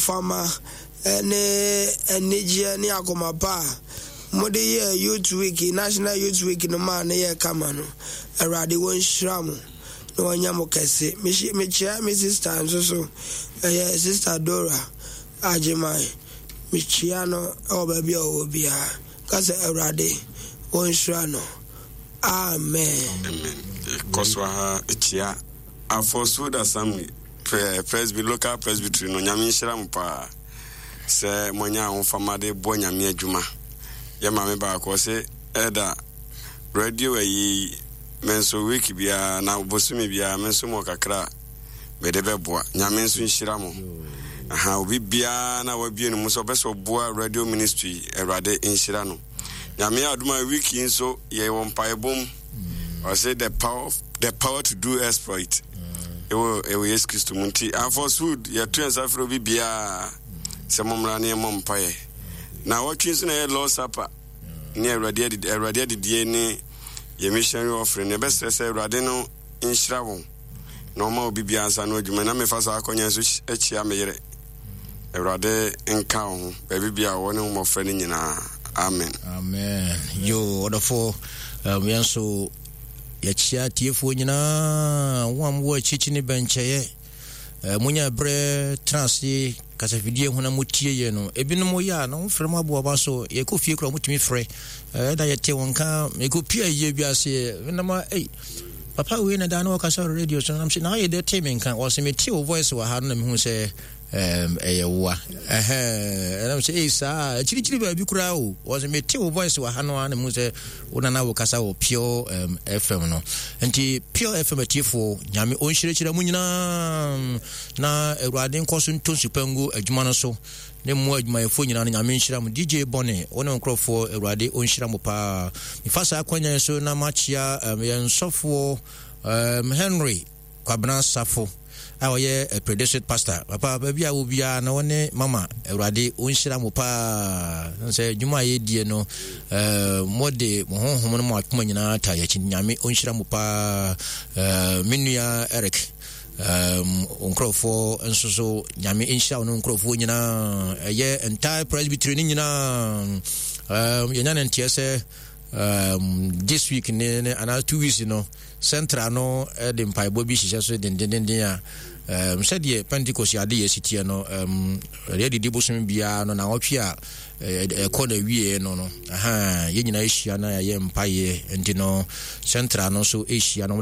ahofama ne anigyeɛ ne akoma pa a mode yɛɛ Youth Week, National Youth Week no maa no yɛɛ kama no. Awurade wɔnhyira mo na wɔnyɛ mo kɛse. Mekyia me sister nso so, ɛyɛ Sister Dora Agyeman. Mekyia no wɔ baabi a ɔwɔ biara. Ka sɛ Awurade wɔnhyira no. Amen. Amen. Kɔ so ara kyia Afɔsuo Assembly Presby local presbytery no. Nyame nhyira mo paa sɛ moanya ahofama de bɔ Nyame adwuma. Yɛ maame baako ɔse ɛda radio ayi me nso week biara na bosome biara me nso mɔ kakra a mede bɛboa. Nyame nso nhyira mo. Aha, obi biara na wabie no mu sɛ ɔpɛ sɛ ɔboa radio ministry, Awurade nhyira no. Nyame adom a week yi nso yɛwɔ mpaebɔ mu. Ɔse the power to do exploit ɛwɔ Yesu Kristo mu nti Afɔswood yɛto yɛn nsa frɛ obi biara sɛ mommra ne yɛmmɔ mpaeɛ. Na wɔtwe nso na ɛyɛ Lord Supper ne Awurade adidie ne yɛ missionary offering. Na ɛbɛsrɛ sɛ Awurade no nhyira wɔn na ɔma obi biara nsa no adwuma. Na mefa saa akɔnya nso akyia me yere. Awurade nka wo ho baabi bia wɔ ne ho mmɔfra no nyinaa. Amen. Amen. Yo, ɔdɔfo, yɛn nso yɛkyia tiefoɔ nyinaa, wɔn a mowɔ akyikyi ne bɛnkyɛeɛ. Monya berɛ tena ase kasafidie ho na motie yɛ no. Ebinom yɛ a na wɔmfrɛ mo aboaba so. Yɛkɔ fie koraa wɔtumi frɛ. Ɛda yɛte wɔn nka mekɔpia yie bi ase. Menam a, ei, papa wei na daa na wɔkasa wɔ radio so. Nam sɛ na ayɛ dɛ tee me nka. Wɔsɛ mete wo voice wɔ ha no na mehu sɛ ɛyɛ woa. Ɛnam sɛ ei saa akyirikyiri baabi koraa o. Wɔsɛ mete wo voice wɔ ha no a na mehu sɛ wo nana wokasa wɔ Pure FM no. Nti Pure FM atiefoɔ, Nyame ɔnhyirahyira mu nyinaa na Awurade nkɔ so ntɔ nsupa ngu adwuma no so ne mmoa adwumayɛfoɔ nyinaa no. Nyame nhyira mo. DJ Bɔne, wo ne nkurɔfoɔ, Awurade ɔnhyira mo paa. Mefa saa akwanya yi so na makyia yɛn sɔfoɔ Henry Kwabena Safo a ɔyɛ Pre District Pastor. Papa, baabi a wɔ biara na wɔne mama, Awurade ɔnhyira mo paa sɛ adwuma a yɛdie no, mode mo honhom no mo akoma nyinaa ta yɛakyi. Nyame ɔnhyira mo paa. Me nua Eric, nkurɔfoɔ nso so, Nyame nhyira wo no nkurɔfoɔ nyinaa, ɛyɛ entire presbytery no nyinaa. Yɛnya no nteɛ sɛ this week ne anaa 2 weeks no, central no de mpaebɔ bi hyehyɛ so dendendenden a sɛdeɛ Pentecost ade yɛ si teɛ no, ɛyɛ didi bosom biara no na ɔtwe a ɛkɔ na wie no, yɛn nyinaa ahyia na yɛayɛ mpaeɛ. Nti no central no nso ahyia no.